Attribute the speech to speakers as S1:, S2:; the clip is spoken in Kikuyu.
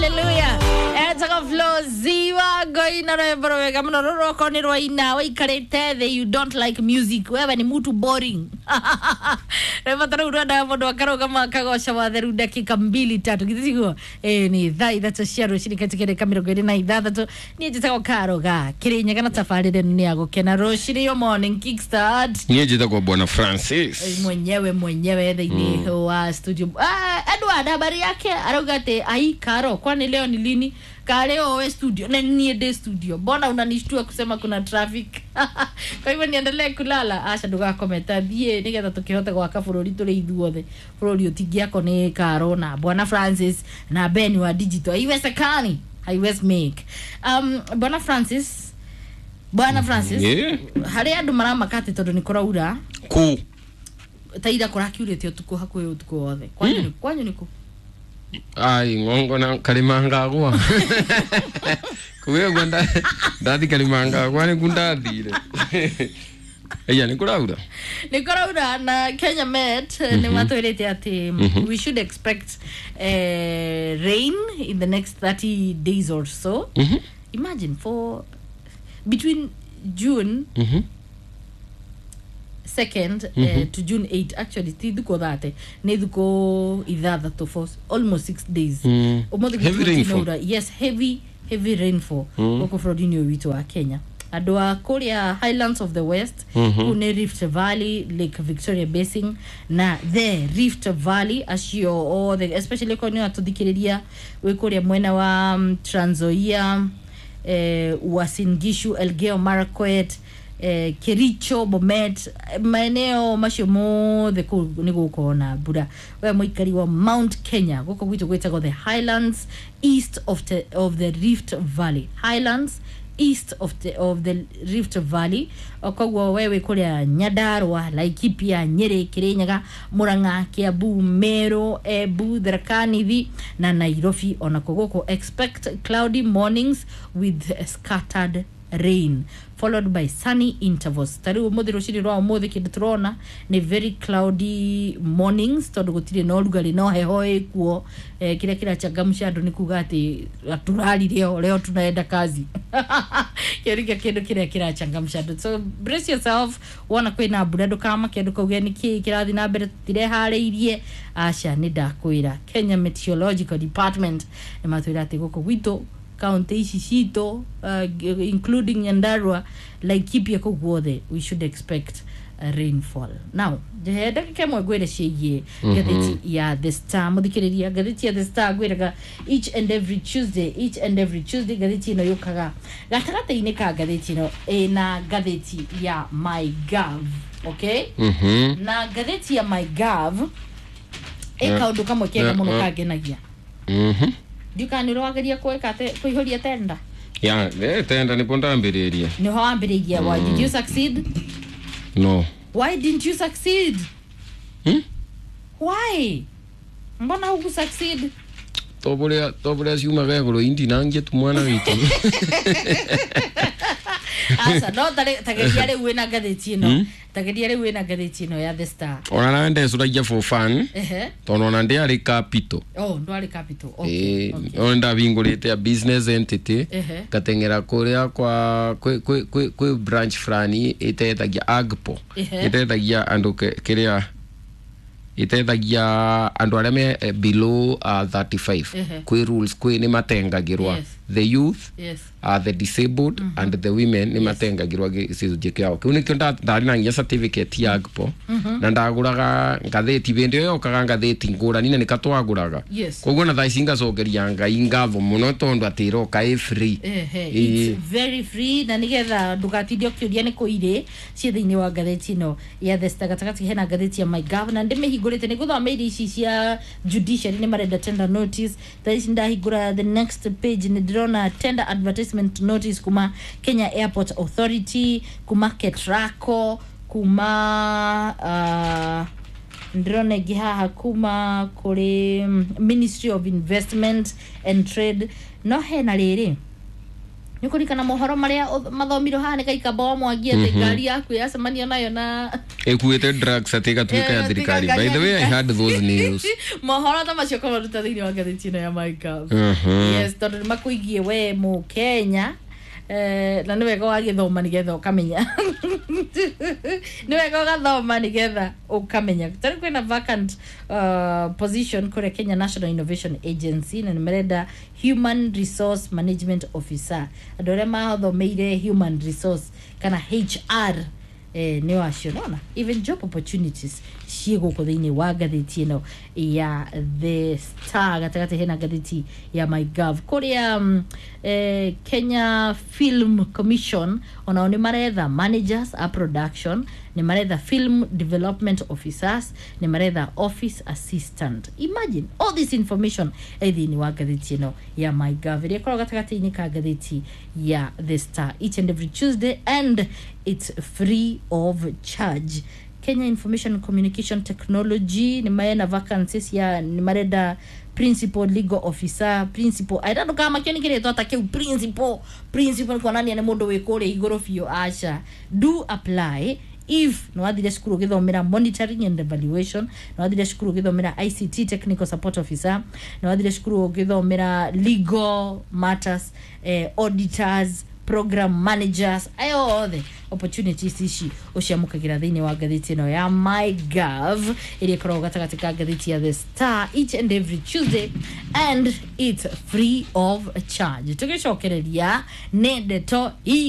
S1: Hallelujah. Etagwo Flo Ziwa ngoina rwimbo rwega muno rũrũ nĩ rwaina waikarĩte thĩ, you don't like music, wewe ni mtu boring. Rwimbo ta rũu rwendaga mũndũ akarũgama akagoca watheru dakika mbili tatu githĩ tiguo? Ĩĩ, nĩ thaa 3 cia rũcinĩ katika dakika 26. Niĩ njĩtagwo Karo ga Kĩrĩnyaga na tabarĩra ĩno nĩ ya gũkena rũcinĩ, yo Morning Kickstart.
S2: Niĩ njĩtagwo Bwana Francis.
S1: Mwenyewe mwenyewe thĩinĩ wa studio. Ah, Edward habari yake arauga atĩ ai Karo, kwani leo ni lini? Kareo we studio na niĩ ndĩ studio, mbona unanishtua kusema kuna traffic? Kwa hivyo niendelee kulala? Aca, ndũgakometa, thiĩ nĩgetha tũkĩhote gwaka bũrũri tũrĩ ithuothe. Bũrũri ũtingĩakwo nĩ Karo na Bwana Francis na Ben wa digital, haiwezekani, haiwezi make. Bwana Francis, Bwana Francis, harĩ andũ maramaka atĩ tondũ nĩ kũraura
S2: Ku
S1: ta ira kũrakiurĩte ũtukũ, hakuhĩ ũtukũ wothe. Kwanyu kwanyu nĩ kũ?
S2: Ai ng'ongo na karimangagwa kuge gwa ndathi karimangagwa nĩ ku ndathire iya nĩ kũraura.
S1: Nĩ kũraura na Kenya Met nĩ matwĩrĩte atĩ we should expect rain in the next 30 days or so. Imagine, for between June 2nd to June 8, actually ti thukũ 30, nĩ thukũ 6 for almost 6 days. Ũmũthĩ
S2: Heavy
S1: gũtirĩ
S2: rainfall.
S1: ũraura. Yes, heavy heavy rainfall gũkũ bũrũri-inĩ ũyũ witũ wa Kenya. Andũ a kũrĩa Highlands of the West, kũu nĩ Rift Valley, Lake Victoria Basin na the Rift Valley, acio othe, especially korwo nĩ atũthikĩrĩria wĩ kũrĩa mwena wa Trans Nzoia, Uasin Gishu, Elgeyo Marakwet, Kericho, Bomet, maeneo macio mothe kũu nĩ gũkorwo na mbura. We mũikari wa Mount Kenya, gũkũ gwitũ gwĩtagwo the Highlands East of the Rift Valley, Highlands East of the Rift Valley. O koguo we wĩ kũrĩa Nyandarua, Laikipia, Nyĩrĩ, Kĩrĩnyaga, Murang'a, Kiambu, Meru, Embu, Tharaka Nithi na Nairobi onako gũkũ, expect cloudy mornings with scattered rain followed by sunny intervals. Ta rĩu ũmũthĩ, rũcinĩ rwa ũmũthĩ, kĩndũ tũrona nĩ very cloudy mornings tondũ gũtirĩ na ũrugarĩ no heho ĩkuo. Kĩrĩa kĩrachangamsha andũ nĩ kuga atĩ turari leo, leo tunaenda kazi. Kĩo nĩkĩo kĩndũ kĩrĩa kĩrachangamsha andũ. So brace yourself, wona kwĩna mbura ndũkamake, ndũkauge nĩkĩ kĩrathiĩ na mbere, tũtireharĩirie. Aca, nĩ ndakwĩra Kenya Meteorological Department nĩ matwĩra atĩ gũkũ gwitũ kaunti ici citũ, including Nyandarua, Laikipia, kũu guothe we should expect rainfall. Now njehe ndagĩka ĩmwe ngwĩre ciĩgiĩ ngathĩti ya The Star. Mũthikĩrĩria, ngathĩti ya The Star ngwĩraga each and every Tuesday, each and every Tuesday ngathĩti ĩno yũkaga. Gatagatĩ-inĩ ka ngathĩti ĩno ĩna ngathĩti ya MyGov, okay? Na ngathĩti ya MyGov ĩ kaũndũ kamwe kega mũno kangenagia. Ndiũkaga nĩ ũrageria kwĩka atĩ kũihũria tenda.
S2: Ya tenda nĩpo ndambĩrĩria.
S1: Nĩho wambĩrĩirie. Why did you succeed?
S2: No.
S1: Why didn't you succeed?
S2: Hmm?
S1: Why, mbona huku succeed?
S2: Tobũrĩa ciumaga igũrũ indinangie tu mwana witũ.
S1: Aca, no tageria rĩu wĩna ngathĩti ĩno, tageria rĩu wĩna ngathĩti ĩno ya The Star.
S2: Ona nawe ndecũragia for fun tondũ ona ndĩarĩ capital.
S1: Oh, ndwarĩ capital, okay.
S2: Ĩĩ, ona ndahingũrĩte a business entity, ngateng'era kũrĩa kwa kwĩ branch fulani ĩtethagia agpo, ĩtethagia andũ kĩrĩa ĩtethagia andũ arĩa me below 35. Kwĩ rules, kwĩ nĩ matengagĩrwa the youth, the disabled and the women nĩ matengagĩrwa gĩcunjĩ kĩao kĩu. Nĩkĩo ndarĩ na nginya certificate ya agpo na ndagũraga ngathĩti hĩndĩ ĩyo yokaga ngathĩti ngũrani na nĩka twagũraga. Koguo na thaa ici ngacokeria Ngai ngatho mũno tondũ atĩ ĩroka ĩ free.
S1: Ehe, it's very free na nigetha ndũgatinde ũkĩũria nĩ kũ irĩ ciĩ thĩinĩ wa ngathĩti ĩno ya The Star. Gatagatĩ hena ngathĩti ya MyGov na ndĩmĩhingũrĩte nĩ gũthoma iria ici cia judiciary, nĩ marenda tender notice. Thaa ici ndahingũra the next page nĩ ndĩrona tender advertisement notice kuma Kenya Airport Authority, kuma Ketraco, kuma ndĩrona ĩngĩ haha kuma kũrĩ Ministry of Investment and Trade. No hena rĩrĩ Nä kå ririkana mohoro marä a mathomirwo haha nä kaikamba wa Mwangi atä ngari yaku yacemanio nayo na
S2: Ĩkuĩte drugs atĩ ĩgatuĩka ya
S1: Eh,
S2: thirikari.
S1: ngari
S2: By the way, I had those news.
S1: Mohoro ta macio kamaruta thä inä wa ngathä ä no ya MyGov. Yes, tondå nä makåigie we må Kenya, na nä wega wagä nä getha å kamenya, nä wega å gathoma nä getha å kamenya. Tarä kwä na vacant position kå Kenya National Innovation Agency na nä marenda human resource management officer, andå arä a mathomeire human resource kana HR, nä acio nona even job opportunities ciä gå kå thä inä wa ngathä ä no ya The Star. Gatagatĩ hena ngathĩti ya MyGov kũrĩa Kenya Film Commission onao nĩ maretha managers a production, nĩ maretha film development officers, nĩ maretha office assistant. Imagine all this information ĩ thĩinĩ wa ngathĩti ĩno ya MyGov ĩrĩa ĩkoragwo gatagatĩ-inĩ ka ngathĩti ya The Star each and every Tuesday, and it's free of charge. Kenya Information Communication Technology nĩ marena vacancies ya nĩ marenda principal legal officer, principal, I don't know kama kĩo nĩ kĩrĩtwa ta kĩu principal. Principal nĩ kuonania nĩ mũndũ wĩ kũrĩa igũrũ biũ. Aca, do apply if nĩ wathire cukuru ũgĩthomera monitoring and evaluation, nĩ wathire cukuru ũgĩthomera ICT technical support officer, nĩ wathire cukuru ũgĩthomera legal matters, auditors, program managers, ayo othe opportunities ici ũciamũkagĩra thĩinĩ wa ngathĩti ĩno ya MyGov ĩrĩa ĩkoragwo gatagatĩ ka ngathĩti ya The Star each and every Tuesday, and it's free of charge. Tũgĩcokereria nĩ ndeto i